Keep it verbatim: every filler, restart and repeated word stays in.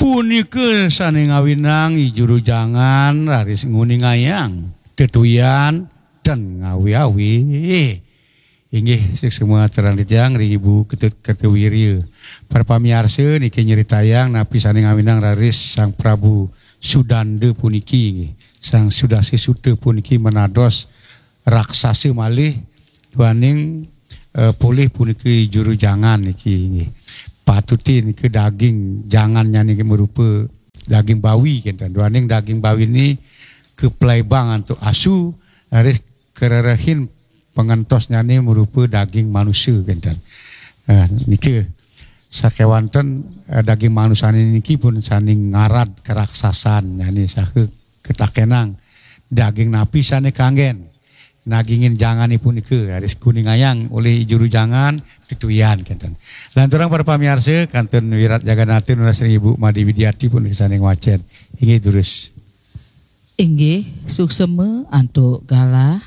Punika sane ngawinang I Juru Jangan raris nguningayang tetuyan ten ngawi-awi. Inggih, suksma aturang titiang ring Ibu Ketut Kertawirya. Para pamiarsa, niki nyritayang napi sane ngawinang raris Sang Prabu Sudanda puniki, inggih. Sang Sudasa Suta puniki manados raksasa malih, duaning, eh, polih puniki Juru Jangan niki, inggih. Patute nika daging jangannyane niki marupa daging bawi kenten. Duaning daging bawi ni kaplaibang antuk asu, raris karerehin pangentosnyane marupa daging manusa kenten. Eh, nika sakewanten, eh, daging manusane niki pun sane ngarad karaksasannyane saha ketakenang, daging napi sane kanggen nagingin jangane punika, raris kuningayang olih Juru Jangan tetuyan kenten. Lanturang para pamiarsa, kantun wirat jaganata nunas ring Ibu Made Widiati pun sane ngwacen. Inggih durus. Inggih, suksma antuk galah